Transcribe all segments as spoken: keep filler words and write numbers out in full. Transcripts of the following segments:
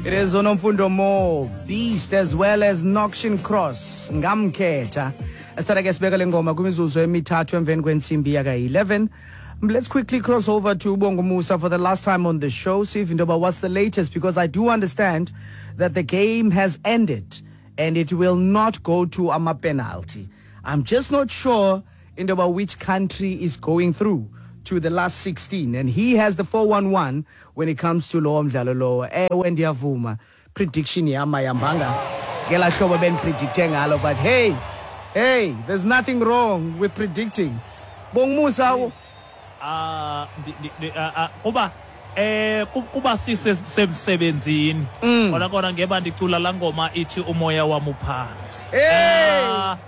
It is Onomfundo Mo, Beast, as well as Noxion Cross. Ngamkhetha. Asithatha ke sibeka le ngoma kwimizuzu emithathu emveni kwentsimbi yaka-eleven. Let's quickly cross over to Bongo Musa for the last time on the show. See if Ndoba, what's the latest? Because I do understand that the game has ended and it will not go to ama penalty. I'm just not sure Ndoba which country is going through to the last sixteen, and he has the four one one when it comes to lo mdlalo lo. Ewe, ndiyavuma, prediction yam ayihambanga ngela hlobo bendipredicte ngalo, but hey, hey, there's nothing wrong with predicting, Bongmusa. Ah, ndi- ndi- ndi- ah, ah, kuba eh ku- kuba sisemsebenzini Mm. kona kona ngeba ndicula laa ngoma ithi "Umoya wam uphantsi". Hey! Ah,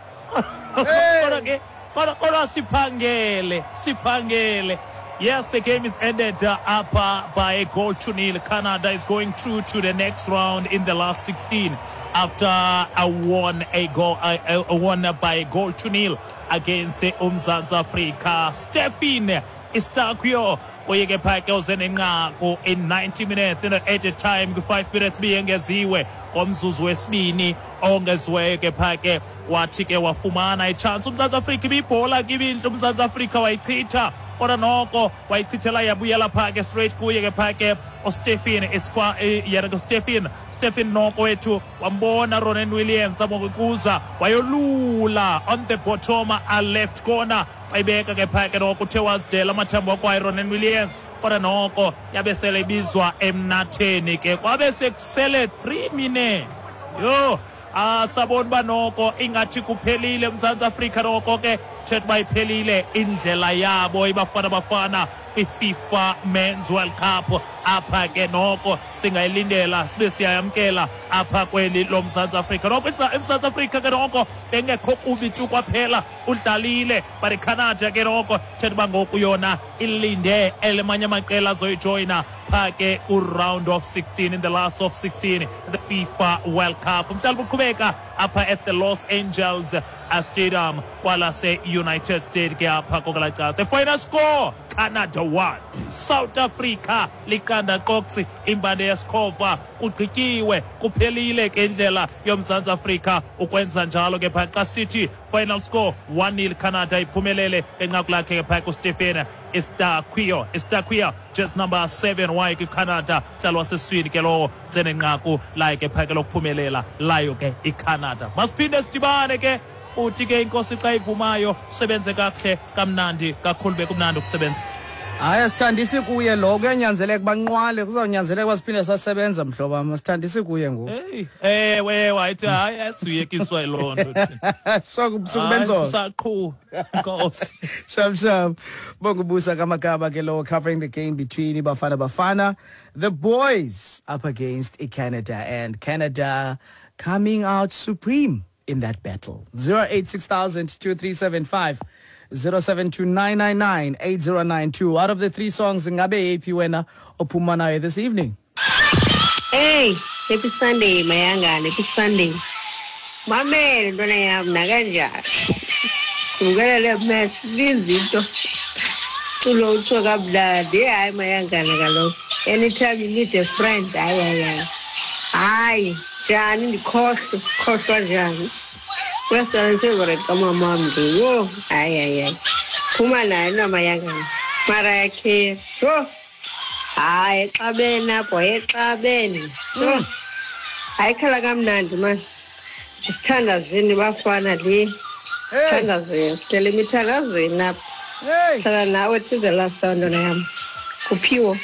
Hey! kodwa ke kodwa kodwa siphangele, siphangele. Yes, the game is ended uh, up uh, by a goal to nil. Canada is going through to the next round in the last sixteen after a won a goal uh, uh, won by a goal to nil against uh, uMzantsi Afrika. Stephen Eustáquio uye ke phaa ke uze nenqaku in ninety minutes in the added time, kwi-five minutes biyengeziwe ngomzuzu wesibini ongeziweyo ke phaa ke, wathi ke wafumana itshansi uMzantsi Afrika. Ibibhola ke ibintle, uMzantsi Afrika wayichitha, kodwa noko wayichithela yabuyela phaa ke straight kuye ke phaa ke uStephen Iskwa, eh, yena ke Stephen Stephen noko wethu wambona Ronan Williams amokuza, wayolula on the bottom a left corner, wayibeka ke phaa ke noko, uthe wazidela amathambo wakwayo Ronan Williams, kodwa noko yabe sele ibizwa emnatheni ke, kwabe sekusele three minutes. Yho, asabona uba noko ingathi kuphelile eMzantsi Afrika, noko ke thetha uba iphelile indlela yabo iBafana Bafana kwi-FIFA Men's World Cup. Apha ke noko singayilindela sibe siyayamkela apha kweli loMzantsi Afrika. Noko eMzantsi Afrika ke noko bengekho kubi tu kwaphela, udlalile, but iCanada ke noko thetha uba ngoku yona ilinde elimanye amaqela azoyijoyina phaa ke ku-round of sixteen, in the last of sixteen, the FIFA World Cup. Umdlalo uqhubeka apha at the Los Angeles Stadium kwalase-United States ke apha kokwelaa cala. The final score, Canada one, South Africa liqanda qoksi, imbande yesikhova. Kugqityiwe, kuphelile ke indlela yoMzantsi Afrika ukwenza njalo ke phaa. Xa sithi final score one nil, Canada iphumelele ngenqaku lakhe ke phaa kuStephen Eustáquio. Eustáquio, just number seven waye kwiCanada, mdlalo waseswini ke lowo, senenqaku layo ke phaa ke lokuphumelela layo ke iCanada. Masiphinde sidibane ke uthi ke inkosi xa ivumayo. Sebenze kakuhle, kamnandi kakhulu, bekumnandi ukusebenza. Hayi, asithandisi kuye lo, kuyanyanzeleka banqwale, kuzawunyanzeleka uba siphinde sasebenza, mhlobo wam. Asithandisi kuye ngoku. Hey, ewe, wayithi hayi, asuyekiswa yiloo nto. Sukubenzona. Saqhu nkosi. Shap shap. Bongubusa Kamakaba ke lo, covering the game between Bafana Bafana, the boys, up against Canada, and Canada coming out supreme in that battle. zero eight six thousand two three seven five, zero seven two nine nine nine eight zero nine two. Out of the three songs, ngabe yeyiphi wena ophuma nayo this evening? Hey, happy Sunday, Mayangane, happy Sunday. Mamele ntwana yam nakanjani. Sibukela le match lizinto. Culo utsho kamnandi. Hayi Mayangane kaloku. Anytime you need a friend, hayi hayi hayi. Hayi, njani ndikhohlwe, khohlwa njani? Kwesona favorite kamamam nje. Yho, hayi hayi hayi. Phuma nayo naMayangane. Mariah Carey. Yho. Hayi, exabene apho, exabene. Yho. Hayi, khala kamnandi mani. Sithandazeni bafana le. Hey, Thandazeni, sicela emithandazweni apha. Hey. Hlala nawe to the last round yam. Kuphiwo.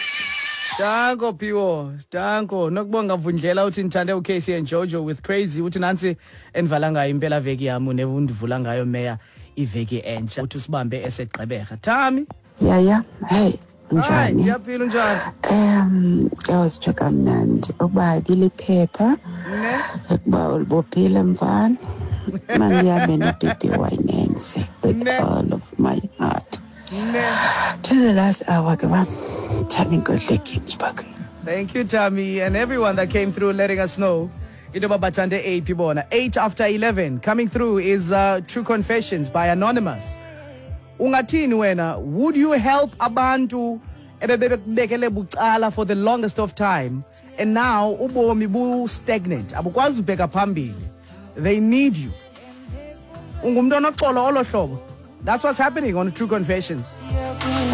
Danko Phiwo, danko. Nokubonga Vundlela uthi ndithande uK C and Jojo with "Crazy". Uthi nantsi endivala ngayo impela veki yam, nevundivula ngayo meya iveki entsha. Uthi usibambe eseGqeberha. Thami. Yaya, hey, Hayi, unjani? Ndiyaphila, unjani? Um, yawusitsho kamnandi ukuba ibiliphepha Ne? ukuba ulibophile mfana. Mandihambe noBaby Winense with Ne. all of my heart. Ne. To the last hour ke bam. Thami Nkohle, Ginsburg. Thank you, Tammy, and everyone that came through letting us know into yoba bathande eyiphi bona. eight after eleven. Coming through is uh, True Confessions by Anonymous. Ungathini wena? Would you help abantu Ebebekubekele bucala for the longest of time, and now ubomi bu-stagnant, abukwazi ubheka phambili. They need you. Ungumntu onoxolo olo hlobo. That's what's happening on True Confessions.